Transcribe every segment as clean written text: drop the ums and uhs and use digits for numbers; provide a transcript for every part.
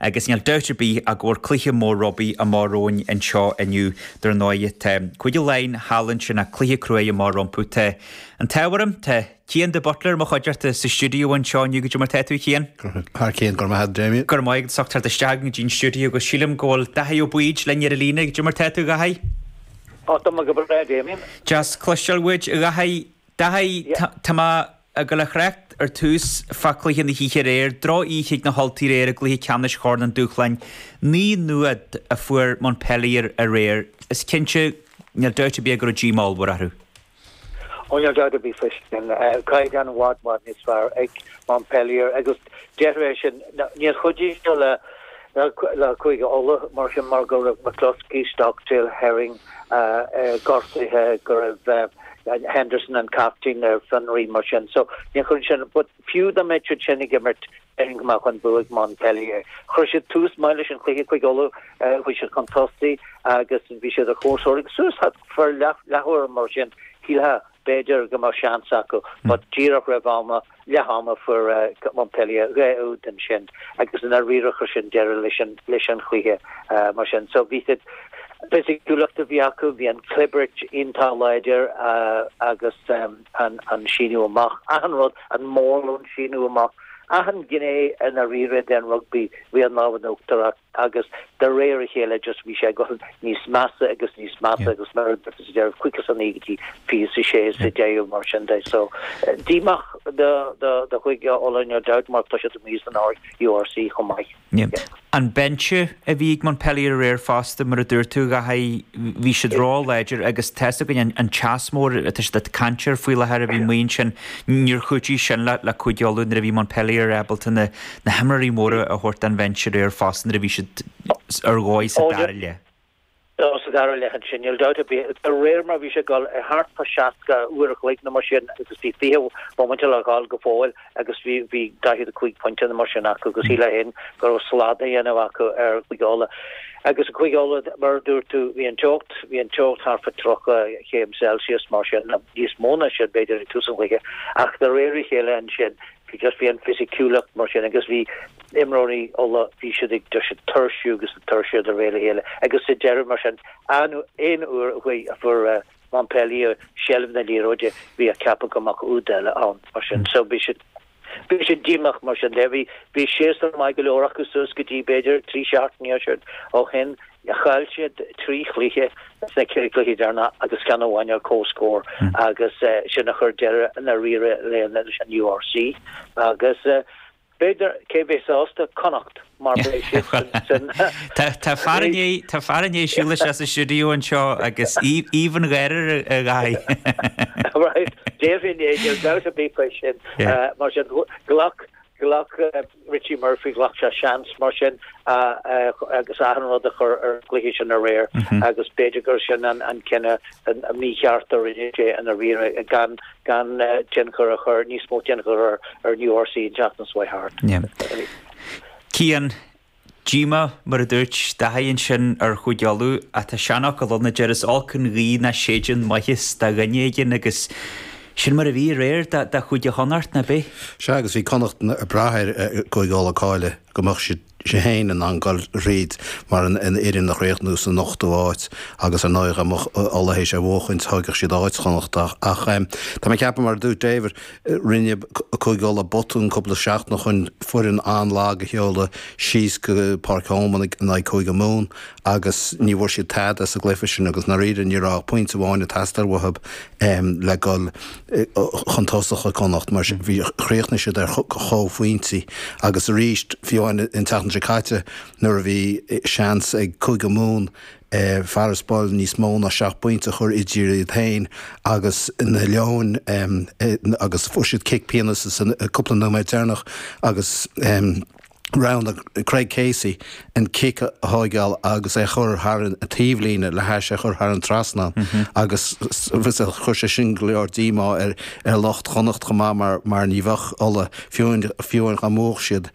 Agus níl dabht ar bith ach go bhfuil cluiche mór rugbaí amach romhainn anseo inniu. Dar ndóigh, tá Cúige Laighean thall ansin ach cluiche cruaidh amach rompu. Tá an t-ádh orm, tá Cian de Buitléar, mo chuideachta sa stiúideo anseo inniu. Goidé mar tá tú, a Chian? Thar cionn, go raibh maith agat, Damien. Go raibh maith agat as ucht teacht isteach go dtí an stiúideo agus sílim go bhfuil Daithí Ó Baoid linn ar an líne. Goidé mar tá tú, a Dhaithí? Ó, tá mé go breá, Damien. Deas cloisteáil uait, a Dhaithí. Daithí, tá mé ag dul a thrácht ar tús fá chluiche na hoíche aréir, droch-oíche ag na hUltaigh aréir i gcluiche ceannais Chorn an Dúshláin. 9 0 a fuair Montpellier aréir. Is cinnte, níl dabht ar bith go raibh díomá ollmhór orthu. Ó níl dabht ar bith faoi sin. Caighdeán i bhfad, bhfad níos fearr ag Montpellier agus déarfainn é sin, níor chuidigh sé le le Cúige Uladh mar sin mar go raibh McCloskey, Stockdale, Herring gortaithe, go raibh Henderson an captaen ar fionraí mar sin. So níor chuidigh sin but fiú dá mbeadh siad sin ag imirt déarfainn go mbeadh an bua ag Montpellier. Chuir siad tús maith leis an chluiche Cúige Uladh, chuaigh siad chun tosaigh agus bhí siad ar comhscór agus suas thart leath leathuair mar sin shílfeá b'fhéidir go mbeadh seans acu but díreach roimh ama, leath ama fuair Montpellier 2 úd ansin agus i ndáiríre chuir sin deireadh leis an leis an chluiche mar sin. So bhí siad fisiciúlacht a bhí acu, bhí an chlibirt iontach láidir agus an an síneadh amach, achan rud, an mórlón síneadh amach, achan ghné i ndáiríre den rugbaí bhí an lámh in uachtar acu agus de réir a chéile just bhí sé ag dul níos measa agus níos measa agus mar a dúirt tú sa deireadh 59 go dtí 26 sa deireadh mar sin de. So díomách do do do Chúige Uladh no doubt mar tá siad amuigh san URC chomh maith. An binse a bhí ag Montpellier aréir fosta, mar a dúirt tú, a Dhaithí, bhí siad ró-láidir agus tá's againn an teas mór atá siad ag caint air faoi láthair a bhí amuigh ansin, níor chúitigh sin le Cúige Uladh nuair a bhí Montpellier ábalta na himreoirí móra a thabhairt den bhinse aréir fosta nuair a bhí siad ar dhóigh sa dara leath. Sa dara leath ansin, níl dabht ar bith, de réir mar a bhí sé ag dul ar thart fá 60 uair a chloig nó mar sin agus bhí 20 bomaite le dhul go fóill agus bhí bhí 45 pointe nó mar sin acu agus shílfeá féin go raibh slad á dhéanamh acu ar Chúige Uladh. Agus Cúige Uladh, mar a dúirt tú, bhí an teocht, bhí an teocht thart fá 30 chéim Celsius mar sin, nó níos mó ná sin b'fhéidir ag tús an chluiche ach de réir a chéile ansin bhí just bhí an fisiciúlacht mar sin agus bhí imreoirí Uladh, bhí siad ag just ag tuirsiú agus ag tuirsiú de réir a chéile agus sa deireadh mar sin, aon uair a chuaigh, a fuair Montpellier seilbh na liathróide, bhí ag ceapadh go mbeadh úd eile ann mar sin. So bhí siad, bhí siad díomách mar sin de. Bhí, bhí séasúr maith go leor acu suas go dtí b'fhéidir 3 seachtaine ó shin. Chaill siad 3 chluiche sna ceithre chluiche deireanacha agus ceann amháin ar comhscór agus sin a chuir deireadh i ndáiríre leis an URC agus B'fhéidir, cé bheidh sásta? Connacht, mar beidh siad san. Tá fear i ndiaidh, tá fear i ndiaidh siúl isteach sa stiúideo anseo agus aoibh an gháire ar a aghaidh. Right, déarfainn é, níl dabht ar bith faoi sin. Mar sin, ghlac, ghlac Richie Murphy, ghlac sé seans mar sin agus achan rud a chur ar an gcluiche sin aréir agus b'fhéidir gur sin an cinneadh mícheart a rinne sé i ndáiríre gan gan tionchar a chur, níos mó tionchar ar an URC an tseachtain seo thart. Cian, díomá, mar a dúirt Daithí ansin ar Chúige Uladh, ach tá seanfhocal ann a deir is olc an ghaoth nach séideann maitheas do dhuine éigin agus sin mar a bhí aréir do Chúige Chonnacht, ná bith? Sea, agus bhí Connacht ag brath ar Chúige Uladh cailleadh go mbeadh siad féin in ann dul thríd mar an fhoireann a chríochnú san ochtú áit agus ar ndóigh dá mbeadh Ulaidh théis é a bhuachaint thógfadh siad áit Chonnacht ach tá mé ag ceapadh mar a dúirt David rinne Cúige Uladh botún cúpla seachtain ó shin foireann an-lag a sheoladh síos go Páirc Thomond in aghaidh Cúige Mumhan agus ní bhfuair siad tada sa gcluiche sin agus i ndáiríre ní raibh ach pointe amháin ag teastáil uathu le dul chun tosach ag Connacht mar bhí chríochnaigh siad ar chomhphointí agus arís fiú amháin an tseachtain seo caite nuair a bhí seans ag Cúige Mumhan farasbarr níos mó ná seacht bpointe a chur idir iad féin agus na Leoin agus fuair siad cic pionóis sa cúpla nóiméad deireanach agus roghnaigh Craig Casey an cic a thóigeáil agus é a chur thar an taobhlíne le hais é a chur thar an trasnán agus chuir sé sin go leor díomá ar lucht Chonnacht chomh maith mar mar ní bheadh Ulaidh, fiú fiú dá mbuafadh siad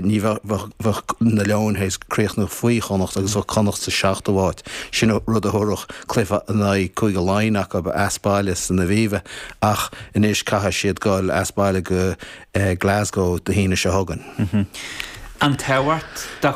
ní bheadh bheadh na Leoin théis críochnú faoi Chonnacht agus bheadh Connacht sa seachtú háit. Sin rud a thabharfadh cluiche in aghaidh Cúige Laighean acu as baile san Aviva ach anois caithfidh siad dul as baile go Glasgow Dé hAoine seo chugainn. An tábhacht do.